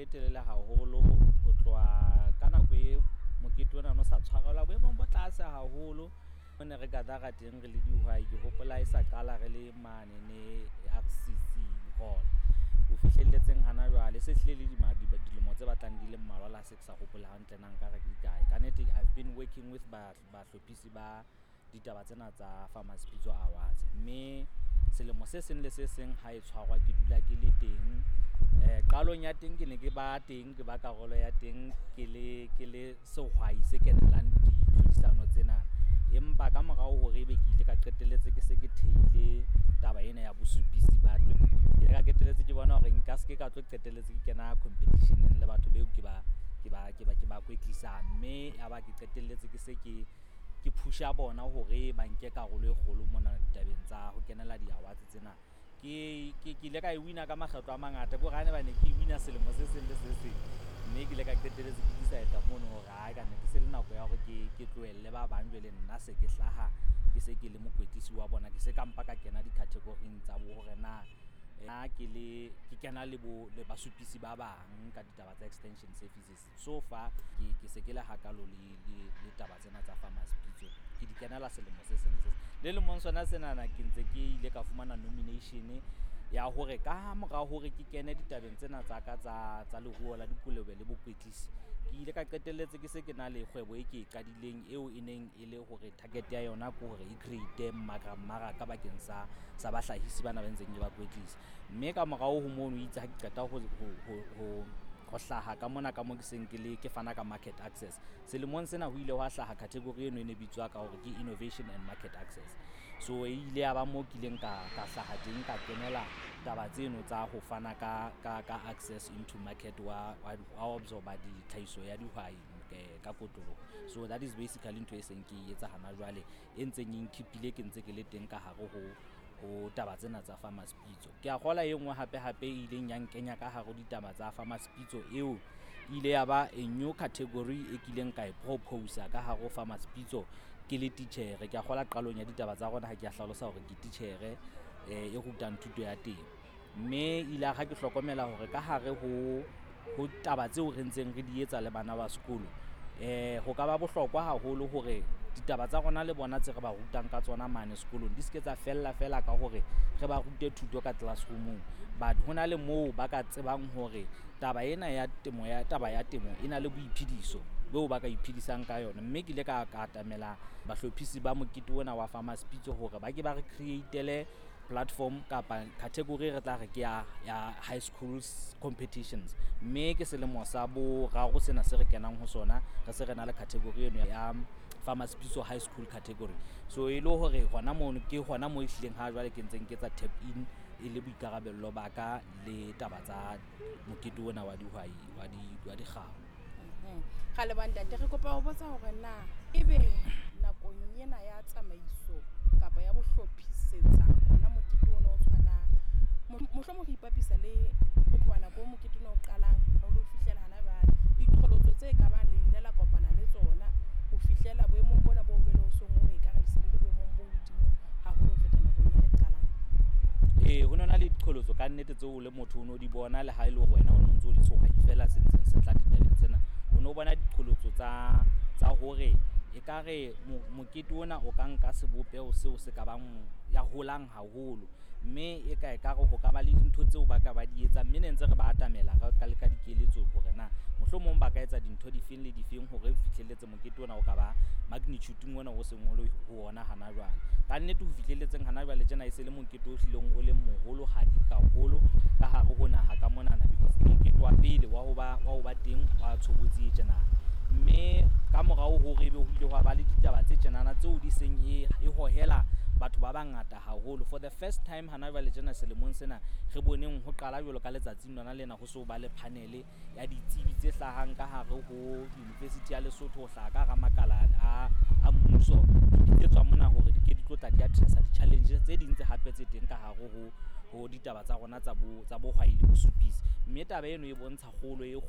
telele haholo ho tloha ka nako e mokete ona o no sa tshwarelwa boemong bo tlase haholo. Mo ne re gather-a teng re le dihwai, ke hopola e sa qala re le mane ne RCC hall. Ho fihlelletseng hana jwale se hlile le dilemo tse batlang di le mmalwa le ha se ke sa hopola hantle na nkare ke dikae. Ka nnete I've been working with bahlophisi ba ditaba tsena tsa Farmers Pitso Awards, mme selemo se seng le se seng ha e tshwarwa ke dula ke le teng. Qalong ya teng ke ne ke ba teng, ke ba karolo ya teng ke le sehwai se kenelang ditlhodisano tsena. Empa ka morao hore ebe ke ile ka qetelletse ke se ke theile taba ena ya bosupisi ba teng, ke ile ka qetelletse ke bona hore nka se ke ka tlo qetelletse ke kena competition-eng le batho beo ke ba kwetlisang. Mme ya ba ke qetelletse ke se ke push-a bona hore ba nke karolo e kgolo mona ditabeng tsa ho kenela di-awards tsena. Ke ile ka e wina ka makgetlo a mangata, ke hore ha ne ba ne ke wina selemo se seng le se seng. Mme ke ile ka qetelletse ke decide mono hore ae ka nnete se le nako ya hore ke tlohelle ba bang, jwale nna se ke hlaha ke se ke le mokwetlisi wa bona. Ke se ka mpa ka kena di-category-ing tsa bo hore na nna ke le ke kena le bo le basupisi ba bang ka ditaba tsa extension services. So far ke se ke le hakalo le taba tsena tsa Farmers Pitso, ke di kenela selemo se seng le se seng. Le lemong sona senana ke ntse ke ile ka fumana nomination ya hore ka mora hore ke kene ditabeng tsena tsa ka tsa leruo la dikolobe le bokwetlisi, ke ile ka qetelletse ke se ke na le kgwebo e ke e qadileng, eo e neng e le hore target ya yona ke hore e create mmaraka bakeng sa bahlahisi bana ba ntseng ke ba kwetlisa. Mme ka morao ho mono itse ha ke qeta ho hlaha ka mona ka mo ke seng ke le ke fana ka market access, selemong sena ho ile hwa hlaha category eno e ne bitswa ka hore ke innovation and market access. So e ile ya ba mo kileng ka hlaha teng, ka kenela taba tseno tsa ho fana ka access into market wa absorba ditlhahiso ya dihwai ka kotloloho. So that is basically ntho e seng ke e etsa hana jwale, e ntseng e nkhipile ke ntse ke le teng ka hare ho taba tsena tsa Farmers Pitso. Ke a kgola e nngwe hape hape e ileng ya nkenya ka hare ho ditaba tsa Farmers Pitso, eo ile ya ba a new category e kileng ka e propose ka hare ho Farmers Pitso ke le titjhere. Ke a kgola qalong ya ditaba tsa rona ha ke a hlalosa hore ke titjhere e rutang thuto ya temo. Mme ile ha ke hlokomela hore ka hare ho taba tseo re ntseng re di etsa le bana ba sekolo, ho ka ba bohlokwa haholo hore ditaba tsa rona le bona tse re ba rutang ka tsona mane sekolong di se ke tsa fella fela ka hore re ba rute thuto ka classroom-ong, but ho na le moo ba ka tsebang hore taba ena ya temo, ya taba ya temo e na le boiphediso beo ba ka iphedisang ka yona. Mme ke ile ka atamela bahlophisi ba mokete ona wa Farmers Pitso hore ba ke ba re create-ele platform kapa category re tla re ke ya high schools competitions. Mme ke selemo sa boraro sena se re kenang ho sona re se re na le category eno ya Farmers Pitso high school category. So e le hore hona mono ke hona mo ehlileng ha jwale ke ntseng ke etsa tap in e le boikarabello ba ka le taba tsa mokete ona wa dihwai wa dikgau. Ra leboha, ntate. Re kopa ho botsa hore na ebe nakong ena ya tsamaiso kapa ya bohlophisetsa ona mokete ona o tshwanang, mohlomong re ipapisa le ho tloha nako o mokete ona o qalang ho lo fihlela hana jwale, diqholotso tse ka bang le ile la kopana le tsona ho fihlela boemong bona bo jwale o seng o ekare le se le boemong bo hodimo haholo ho feta nakong e le qalang? Ee, ho nona le diqholotso ka nnete tseo o le motho o no di bona, le ha e le hore wena o no ntso o le sehwai fela se ntseng se tla ditabeng tsena. O no bona diqholotso tsa hore ekare mokete ona o ka nka sebopeho seo se ka bang ya holang haholo, mme e ka ekare ho ka ba le dintho tseo ba ka ba di etsang. Mme ne ntse re ba atamela ka le ka dikeletso hore na mohlomong ba ka etsa dintho difeng le difeng hore fihlelletse mokete ona o ka ba magnitude ona o seng o le ho ona hana jwale. Ka nnete ho fihlelletseng hana jwale tjena e se le mokete o hlileng o le moholohadi haholo ka hare ho naha ka monana, because ke mokete wa pele wa ho ba teng wa tshobotsi e tjena. Mme ka morao hore ebe ho ile hwa ba le ditaba tse tjenana tseo di seng e hohela batho ba bangata haholo for the first time hana jwale tjena selemong sena, re boneng ho qala jwalo ka letsatsing lona lena ho so ba le panel ya ditsebi tse hlahang ka hare ho University ya Lesotho, ho hlaha ka hara makala a mmuso, di bitsetswa mona hore di ke di tlo tla di addressa di-challenge tse ding tse hape tse teng ka hare ho ditaba tsa rona tsa bohwai le bosupisi. Mme taba eno e bontsha kgolo e kgolo.